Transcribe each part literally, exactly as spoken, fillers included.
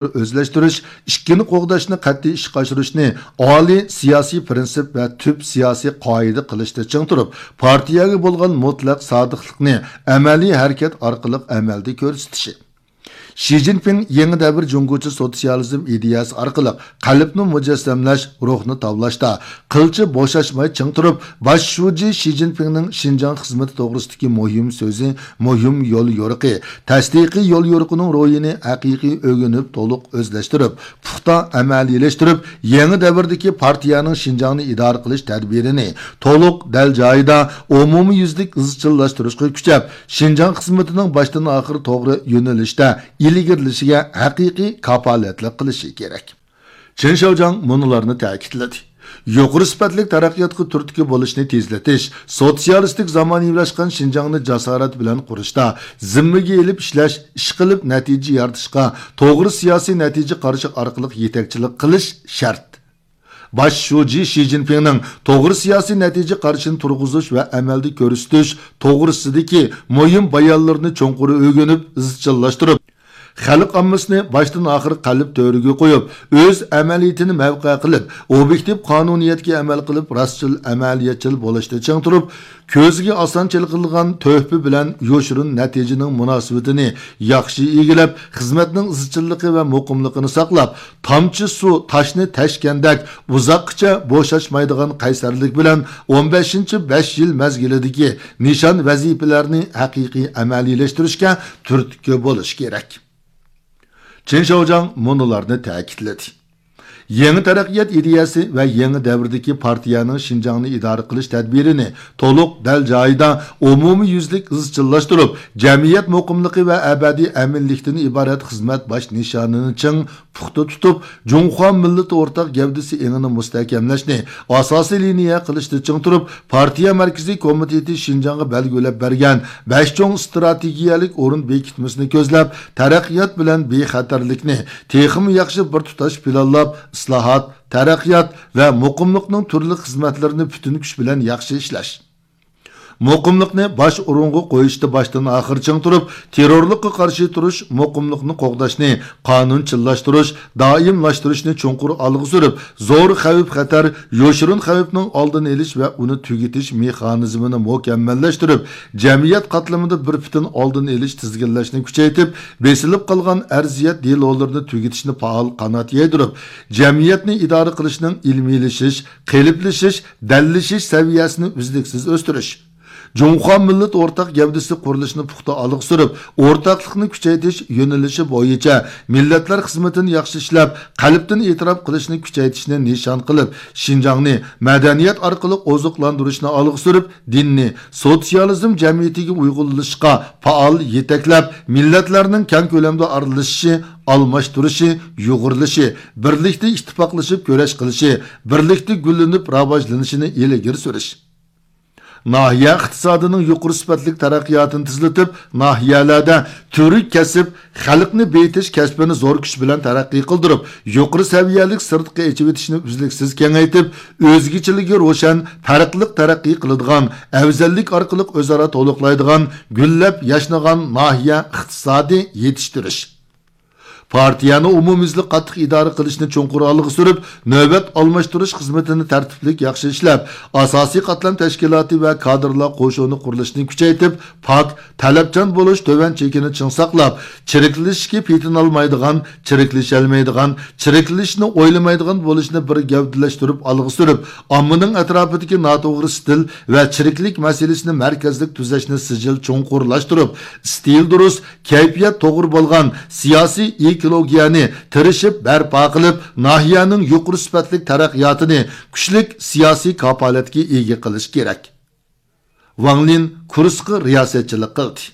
ئۆزلەشتۈرۈش، ئىككىنى قوغداشنى قەتئىي ئىشقا ئاشۇرۇشنى ئالىي سىياسىي پىرىنسىپ ۋە تۈپ سىياسىي قائىدە قىلىشتا چىڭ تۇرۇپ، پارتىيەگە بولغان مۇتلەق سادىقلىقنى ئەمەلىي ھەرىكەت ئارقىلىق ئەمەلدە كۆرسىتىشى. شى جىنپىڭ يېڭى دەۋر جۇڭگوچە سوتسىيالىزم ئىدىيەسى ئارقىلىق قەلبنى مۇجەسسەملەش، روھنى تاۋلاشتا، قىلچە بوشاشماي چىڭ تۇرۇپ، باش شۇجى شى جىنپىڭنىڭ شىنجاڭ خىزمىتى توغرىسىدىكى مۇھىم سۆزى، مۇھىم يول يورۇقى، تەستىقىي يول يورۇقىنىڭ روھىنى ھەقىقىي ئۆگىنىپ، تولۇق ئۆزلەشتۈرۈپ، پۇختا ئەمەلىيلەشتۈرۈپ، يېڭى دەۋردىكى پارتىيەنىڭ شىنجاڭنى ئىدارە قىلىش تەدبىرىنى تولۇق، دەل جايىدا، ئومۇميۈزلۈك ئىزچىللاشتۇرۇشقا كۈچەپ، شىنجاڭ خىزمىتىنىڭ باشتىن ئاخىر توغرا يۆنىلىشتە ئىلگىرىلىشىگە ھەقىقىي كاپالەتلىك قىلىشى كېرەك. چېن شياۋجياڭ مۇنۇلارنى تەكىتلىدى. يۇقىرى سۈپەتلىك تەرەققىياتقا تۈرتكە بولۇشنى تېزلىتىش، سوتسىيالىستىك زامانىۋىلاشقان شىنجاڭنى جاسارەت بىلەن قۇرۇشتا زىممىگە ئېلىپ ئىشلەش، ئىشقىلىپ نەتىجە يارىتىشقا، توغرا سىياسىي نەتىجە قارىشى ئارقىلىق يېتەكچىلىك قىلىش شەرت. باش شۇجى شى جىنپىڭنىڭ توغرا سىياسىي نەتىجە قارىشىنى تۇرغۇزۇش ۋە ئەمەلدە كۆرسىتىش توغرىسىدىكى مۇھىم بايانلىرىنى چوڭقۇر ئۆگىنىپ، ئىزچىللاشتۇرۇپ، خەلق ئاممىسىنى باشتىن ئاخىر قەلب تۆرىگە قويۇپ، ئۆز ئەمەلىيىتىنى مەۋقە قىلىپ، ئوبيېكتىپ قانۇنىيەتكە ئەمەل قىلىپ، راستچىل، ئەمەلىيەتچىل بولۇشتا چىڭ تۇرۇپ، كۆزگە ئاسان چېلىقىدىغان تۆھپە بىلەن يوشۇرۇن نەتىجىنىڭ مۇناسىۋىتىنى ياخشى ئىگىلەپ، خىزمەتنىڭ ئىزچىللىقى ۋە مۇقىملىقىنى ساقلاپ، تامچە سۇ تاشنى تەشكەندەك ئۇزاققىچە بوشاشمايدىغان قەيسەرلىك بىلەن ئون بەشىنچى بەش يىل مەزگىلىدىكى نىشان ۋەزىپىلەرنى ھەقىقىي ئەمەلىيلەشتۈرۈشكە تۈرتكە بولۇش كېرەك. چېن شياۋجياڭ مۇنۇلارنى تەكىتلىدى. يېڭى تەرەققىيات ئىدىيەسى ۋە يېڭى دەۋردىكى پارتىيەنىڭ شىنجاڭنى ئىدارە قىلىش تەدبىرىنى تولۇق، دەل جايىدا، ئومۇميۈزلۈك ئىزچىللاشتۇرۇپ، جەمئىيەت مۇقىملىقى ۋە ئەبەدىي ئەمىنلىكتىن ئىبارەت خىزمەت باش نىشانىنى چىڭ، پۇختا تۇتۇپ، جۇڭخۇا مىللىتى ئورتاق گەۋدىسى ئېڭىنى مۇستەھكەملەشنى ئاساسىي لىنىيە قىلىشتا چىڭ تۇرۇپ، پارتىيە مەركىزىي كومىتېتى شىنجاڭغا بەلگىلەپ بەرگەن بەش چوڭ ئىستراتېگىيەلىك ئورۇن بېكىتمىسىنى كۆزلەپ، تەرەققىيات بىلەن بىخەتەرلىكنى تېخىمۇ ياخشى بىر تۇتاش پىلانلاپ، ئىسلاھات، تەرەققىيات ۋە مۇقىملىقنىڭ تۈرلۈك خىزمەتلىرىنى پۈتۈن كۈچ بىلەن ياخشى ئىشلەش. مۇقىملىقنى باش ئورۇنغا قويۇشتا باشتىن ئاخىر چىڭ تۇرۇپ، تېررورلۇققا قارشى تۇرۇش، مۇقىملىقنى قوغداشنى قانۇنچىللاشتۇرۇش، دائىملاشتۇرۇشنى چوڭقۇر ئالغا سۈرۈپ، زور خەۋپ-خەتەر، يوشۇرۇن خەۋپنىڭ ئالدىنى ئېلىش ۋە ئۇنى تۈگىتىش مېخانىزمىنى مۇكەممەللەشتۈرۈپ، جەمئىيەت قاتلىمىدا بىر پۈتۈن ئالدىنى ئېلىش، تىزگىنلەشنى كۈچەيتىپ، بېسىلىپ قالغان ئەرزىيەت دېلولىرىنى تۈگىتىشنى پائال قانات يايدۇرۇپ، جەمئىيەتنى ئىدارە قىلىشنىڭ ئىلمىيلىشىش، قېلىپلىشىش، دەللىشىش سەۋىيەسىنى ئۈزلۈكسىز ئۆستۈرۈش. جۇڭخۇا مىللەت ئورتاق گەۋدىسى قۇرۇلۇشىنى پۇختا ئالغا سۈرۈپ، ئورتاقلىقنى كۈچەيتىش يۆنىلىشى بويىچە مىللەتلەر خىزمىتىنى ياخشى ئىشلەپ، قەلبتىن ئېتىراپ قىلىشنى كۈچەيتىشنى نىشان قىلىپ، شىنجاڭنى مەدەنىيەت ئارقىلىق ئوزۇقلاندۇرۇشنى ئالغا سۈرۈپ، دىننى سوتسىيالىزم جەمئىيىتىگە ئۇيغۇنلىشىشقا پائال يېتەكلەپ، مىللەتلەرنىڭ كەڭ كۆلەمدە ئارىلىشىشى، ئالماشتۇرۇشى، يۇغۇرۇلۇشى، بىرلىكتە ئىتتىپاقلىشىپ كۈرەش قىلىشى، بىرلىكتە گۈللىنىپ راۋاجلىنىشىنى ئىلگىرى سۈرۈش. ناھىيە ئىقتىسادىنىڭ يۇقىرى سۈپەتلىك تەرەققىياتىنى تېزلىتىپ، ناھىيەلەردە تۈۋرۈك كەسىپ، خەلقنى بېيىتىش كەسپىنى زور كۈچ بىلەن تەرەققىي قىلدۇرۇپ، يۇقىرى سەۋىيەلىك سىرتقا ئېچىۋېتىشنى ئۈزلۈكسىز كېڭەيتىپ، ئۆزگىچىلىكى روشەن، پەرقلىق تەرەققىي قىلىدىغان، ئەۋزەللىك ئارقىلىق ئۆزئارا تولۇقلايدىغان، گۈللەپ ياشنىغان ناھىيە ئىقتىسادى يېتىشتۈرۈش. پارتىيەنى ئومۇميۈزلۈك قاتتىق ئىدارە قىلىشنى چوڭقۇر ئالغا سۈرۈپ، نۆۋەت ئالماشتۇرۇش خىزمىتىنى تەرتىپلىك ياخشى ئىشلەپ، ئاساسىي قاتلام تەشكىلاتى ۋە كادىرلار قوشۇنى قۇرۇلۇشىنى كۈچەيتىپ، پاك، تەلەپچان بولۇش تۆۋەن چېكىنى چىڭ ساقلاپ، چىرىكلىشىشكە پېتىنالمايدىغان، چىرىكلىشەلمەيدىغان، چىرىكلىشىشنى ئويلىمايدىغان بولۇشنى بىر گەۋدىلەشتۈرۈپ ئالغا سۈرۈپ، ئاممىنىڭ ئەتراپىدىكى ناتوغرا ئىستىل ۋە چىرىكلىك مەسىلىسىنى مەركەزلىك تۈزەشنى سىجىل چوڭقۇرلاشتۇرۇپ، ئىستىل دۇرۇس، كەيپىيات توغرا بولغان سىياسىي ئېكولوگىيەنى تىرىشىپ بەرپا قىلىپ، ناھىيەنىڭ يۇقىرى سۈپەتلىك تەرەققىياتىنى كۈچلۈك سىياسىي كاپالەتكە ئىگە قىلىش كېرەك. ۋاڭ لىن كۇرسقا رىياسەتچىلىك قىلدى.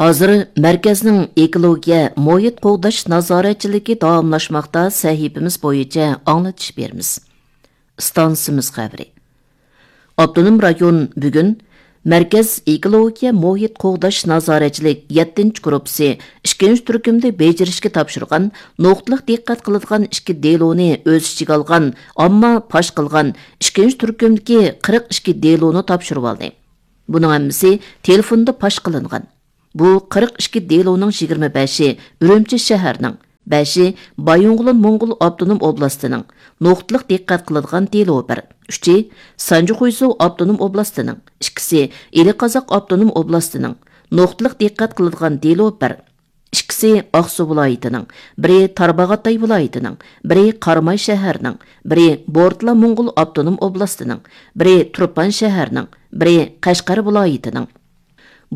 ھازىر مەركەزنىڭ ئېكولوگىيە، مۇھىت قوغداش نازارەتچىلىكى داۋاملاشماقتا سەھىپىمىز بويىچە ئاڭلىتىش بېرىمىز. ئىستانسىمىز خەۋىرى. ئاپتونوم رايون بۈگۈن مەركەز ئېكولوگىيە، مۇھىت قوغداش نازارەتچىلىك يەتتىنچى گۇرۇپپىسى ئىككىنچى تۈركۈمدە بېجىرىشكە تاپشۇرغان نۇقتىلىق دىققەت قىلىدىغان ئىككى دېلونى ئۆز ئىچىگە ئالغان، ئامما پاش قىلغان ئىككىنچى تۈركۈمدىكى قىرىق ئىككى دېلونى تاپشۇرۇۋالدى. بۇنىڭ ھەممىسى تېلېفوندا پاش قىلىنغان. بۇ قىرىق ئىككى دېلونىڭ يىگىرمە بەشى ئۈرۈمچى شەھەرنىڭ، بەشى بايىنغولىن موڭغۇل ئاپتونوم ئوبلاستىنىڭ، نۇقتىلىق دىققەت قىلىدىغان دېلو بىر. ئۈچى سانجى خۇيزۇ ئاپتونوم ئوبلاستىنىڭ، ئىككىسى ئىلى قازاق ئاپتونوم ئوبلاستىنىڭ، نۇقتىلىق دىققەت قىلىدىغان دېلو بىر. ئىككىسى ئاقسۇ ۋىلايىتىنىڭ، بىرى تارباغاتاي ۋىلايىتىنىڭ، بىرى قاراماي شەھەرنىڭ، بىرى بورتالا موڭغۇل ئاپتونوم ئوبلاستىنىڭ، بىرى تۇرپان شەھەرنىڭ، بىرى قەشقەر ۋىلايىتىنىڭ.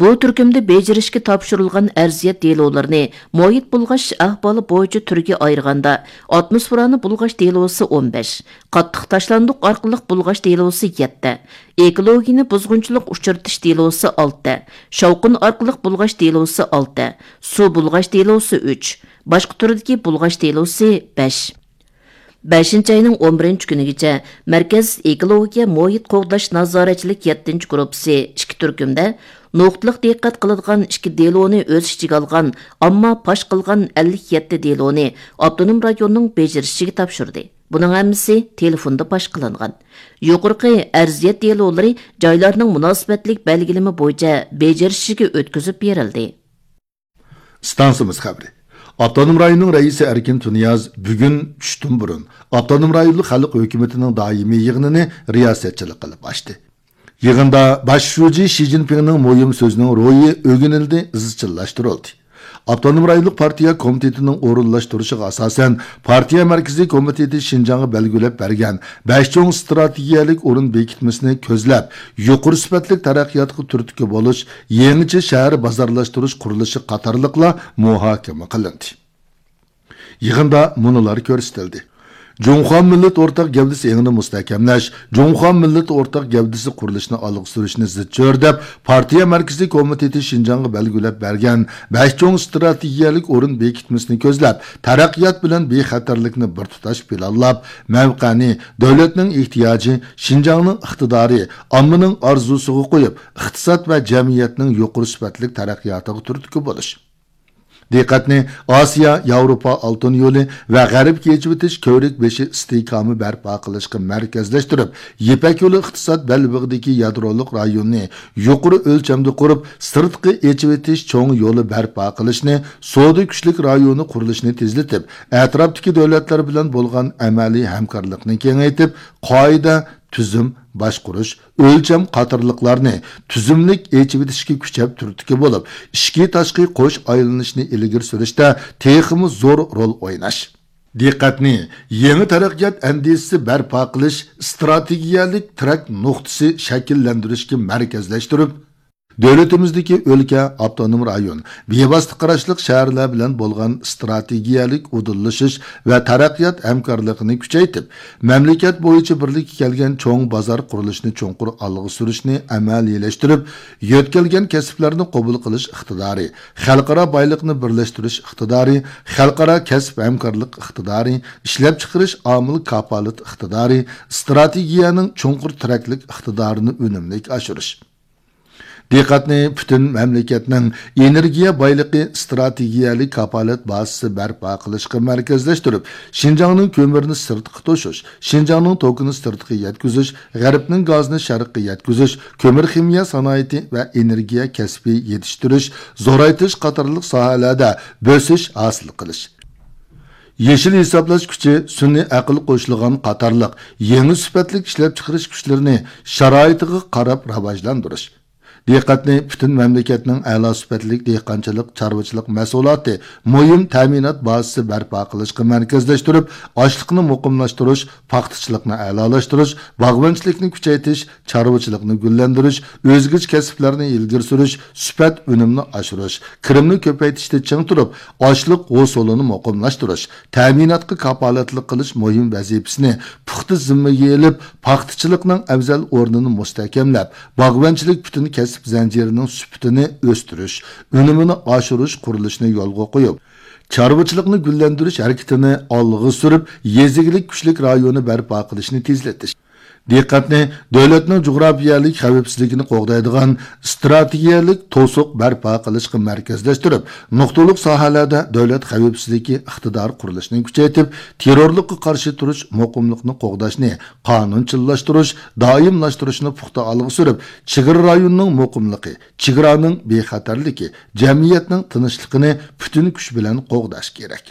بۇ تۈركۈمدە بېجىرىشكە تاپشۇرۇلغان ئەرزىيەت دېلولىرىنى مۇھىت بۇلغاش ئەھۋالى بويىچە تۈرگە ئايرىغاندا، ئاتموسفېرانى بۇلغاش دېلوسى ئون بەش، قاتتىق تاشلاندۇق ئارقىلىق بۇلغاش دېلوسى يەتتە، ئېكولوگىيەنى بۇزغۇنچىلىق ئۇچرىتىش دېلوسى ئالتە، شاۋقۇن ئارقىلىق بۇلغاش دېلوسى ئالتە، سۇ بۇلغاش دېلوسى ئۈچ، باشقا تۈردىكى بۇلغاش دېلوسى بەش. بەشىنچى ئاينىڭ ئون بىرىنچى كۈنىگىچە مەركەز ئېكولوگىيە مۇھىت قوغداش نازارەتچىلىك يەتتىنچى گۇرۇپپىسى ئىككى تۈركۈمدە نۇقتىلىق دىققەت قىلىدىغان ئىككى دېلونى ئۆز ئىچىگە ئالغان، ئامما پاش قىلغان ئەللىك يەتتە دېلونى ئاپتونوم رايوننىڭ بېجىرىشىگە تاپشۇردى. بۇنىڭ ھەممىسى تېلېفوندا پاش قىلىنغان. يۇقىرىقى ئەرزىيەت دېلولىرى جايلارنىڭ مۇناسىۋەتلىك بەلگىلىمە بويىچە بېجىرىشىگە ئۆتكۈزۈپ بېرىلدى. ئىستانسىمىز خەۋىرى. ئاپتونوم رايوننىڭ رەئىسى ئەركىن تۇنىياز بۈگۈن چۈشتىن بۇرۇن ئاپتونوم رايونلۇق خەلق ھۆكۈمىتىنىڭ دائىمىي يىغىنىنى رىياسەتچىلىك قىلىپ ئاچتى. يىغىندا باش شۇجى شى جىنپىڭنىڭ مۇھىم سۆزىنىڭ روھى ئۆگىنىلدى، ئىزچىللاشتۇرۇلدى. ئاپتونوم رايونلۇق پارتىيە كومىتېتىنىڭ ئورۇنلاشتۇرۇشىغا ئاساسەن، پارتىيە مەركىزىي كومىتېتى شىنجاڭغا بەلگىلەپ بەرگەن بەش چوڭ ئىستراتېگىيەلىك ئورۇن بېكىتمىسىنى كۆزلەپ، يۇقىرى سۈپەتلىك تەرەققىياتقا تۈرتكە بولۇش، يېڭىچە شەھەر بازارلاشتۇرۇش قۇرۇلۇشى قاتارلىقلار مۇھاكىمە قىلىندى. يىغىندا مۇنۇلار كۆرسىتىلدى. جۇڭخۇا مىللەت ئورتاق گەۋدىسى ئېڭىنى مۇستەھكەملەش، جۇڭخۇا مىللەت ئورتاق گەۋدىسى قۇرۇلۇشىنى ئالغا سۈرۈشنى زىچ چۆرىدەپ، پارتىيە مەركىزىي كومىتېتى شىنجاڭغا بەلگىلەپ بەرگەن بەش چوڭ ئىستراتېگىيەلىك ئورۇن بېكىتمىسىنى كۆزلەپ، تەرەققىيات بىلەن بىخەتەرلىكنى بىر تۇتاش پىلانلاپ، مەۋقەنى دۆلەتنىڭ ئېھتىياجى، شىنجاڭنىڭ ئىقتىدارى، ئاممىنىڭ ئارزۇسىغا قويۇپ، ئىقتىساد ۋە جەمئىيەتنىڭ يۇقىرى سۈپەتلىك تەرەققىياتىغا تۈرتكە بولۇش. دىققەتنى ئاسىيا، ياۋروپا ئالتۇن يولى ۋە غەربكە ئېچىۋېتىش كۆۋرۈك بېشى ئىستىھكامى بەرپا قىلىشقا مەركەزلەشتۈرۈپ، يىپەك يولى ئىقتىساد بەلبېغىدىكى يادرولۇق رايوننى يۇقىرى ئۆلچەمدە قۇرۇپ، سىرتقى ئېچىۋېتىش چوڭ يولى بەرپا قىلىشنى، سودا كۈچلۈك رايونى قۇرۇلۇشىنى تېزلىتىپ، ئەتراپتىكى دۆلەتلەر بىلەن بولغان ئەمەلىي ھەمكارلىقنى كېڭەيتىپ، قائىدە، تۈزۈم، باشقۇرۇش، ئۆلچەم قاتارلىقلارنى تۈزۈملۈك ئېچىۋېتىشكە كۈچەپ تۈرتكە بولۇپ، ئىچكى تاشقى قوش ئايلىنىشنى ئىلگىرى سۈرۈشتە تېخىمۇ زور رول ئويناش. دىققەتنى يېڭى تەرەققىيات ئەندىزىسى بەرپا قىلىش، ئىستراتېگىيەلىك تىرەك نۇقتىسى شەكىللەندۈرۈشكە مەركەزلەشتۈرۈپ، دۆلىتىمىزدىكى ئۆلكە، ئاپتونوم رايون، بىۋاسىتە قاراشلىق شەھەرلەر بىلەن بولغان ئىستراتېگىيەلىك ئۇدۇللىشىش ۋە تەرەققىيات ھەمكارلىقىنى كۈچەيتىپ، مەملىكەت بويىچە بىرلىككە كەلگەن چوڭ بازار قۇرۇلۇشىنى چوڭقۇر ئالغا سۈرۈشنى ئەمەلىيلەشتۈرۈپ، يۆتكەلگەن كەسىپلەرنى قوبۇل قىلىش ئىقتىدارى، خەلقئارا بايلىقنى بىرلەشتۈرۈش ئىقتىدارى، خەلقئارا كەسىپ ھەمكارلىق ئىقتىدارى، ئىشلەپچىقىرىش ئامىل كاپالىتى ئىقتىدارى، ئىستراتېگىيەنىڭ چوڭقۇر تىرەكلىك ئىقتىدارىنى ئۈنۈملۈك ئاشۇرۇش. دىققەتنى پۈتۈن مەملىكەتنىڭ ئېنېرگىيە بايلىقى ئىستراتېگىيەلىك كاپالەت بازىسى بەرپا قىلىشقا مەركەزلەشتۈرۈپ، شىنجاڭنىڭ كۆمۈرىنى سىرتقا توشۇش، شىنجاڭنىڭ توكىنى سىرتقا يەتكۈزۈش، غەربنىڭ گازىنى شەرققە يەتكۈزۈش، كۆمۈر خىمىيە سانائىتى ۋە ئېنېرگىيە كەسپى يېتىشتۈرۈش، زورايتىش قاتارلىق ساھەلەردە بۆسۈش ھاسىل قىلىش. يېشىل ھېسابلاش كۈچى، سۈنئىي ئەقىل قوشۇلغان قاتارلىق يېڭى سۈپەتلىك ئىشلەپچىقىرىش كۈچلىرىنى شارائىتىغا قاراپ راۋاجلاندۇرۇش. دىققەتنى پۈتۈن مەملىكەتنىڭ ئەلا سۈپەتلىك دېھقانچىلىق، چارۋىچىلىق مەھسۇلاتى مۇھىم تەمىنات بازىسى بەرپا قىلىشقا مەركەزلەشتۈرۈپ، ئاشلىقنى مۇقىملاشتۇرۇش، پاختىچىلىقنى ئەلالاشتۇرۇش، باغۋەنچىلىكنى كۈچەيتىش، چارۋىچىلىقنى گۈللەندۈرۈش، ئۆزگىچە كەسىپلەرنى ئىلگىرى سۈرۈش، سۈپەت ئۈنۈمنى ئاشۇرۇش، كىرىمنى كۆپەيتىشتە چىڭ تۇرۇپ، ئاشلىق ھوسۇلىنى مۇقىملاشتۇرۇش، تەمىناتقا كاپالەتلىك قىلىش مۇھىم ۋەزىپىسىنى پۇختا زىممىگە ئېلىپ، پاختىچىلىقنىڭ ئەۋزەل ئورنىنى مۇستەھكەملەپ، باغۋەنچىلىك پۈتۈن كەسىپ زەنجىرىنىڭ سۈپىتىنى ئۆستۈرۈش، ئۈنۈمىنى ئاشۇرۇش قۇرۇلۇشىنى يولغا قويۇپ، چارۋىچىلىقنى گۈللەندۈرۈش ھەرىكىتىنى ئالغا سۈرۈپ، يېزا ئىگىلىك كۈچلۈك رايونى بەرپا قىلىشنى تېزلىتىش. دىققەتنى دۆلەتنىڭ جۇغراپىيەلىك خەۋپسىزلىكىنى قوغدايدىغان ئىستراتېگىيەلىك توسۇق بەرپا قىلىشقا مەركەزلەشتۈرۈپ، نۇقتىلىق ساھەلەردە دۆلەت خەۋپسىزلىكى ئىقتىدارى قۇرۇلۇشىنى كۈچەيتىپ، تېررورلۇققا قارشى تۇرۇش مۇقىملىقنى قوغداشنى قانۇنچىللاشتۇرۇش، دائىملاشتۇرۇشنى پۇختا ئالغا سۈرۈپ، چېگرا رايونىنىڭ مۇقىملىقى، چېگرانىڭ بىخەتەرلىكى، جەمئىيەتنىڭ تىنچلىقىنى پۈتۈن كۈچ بىلەن قوغداش كېرەك.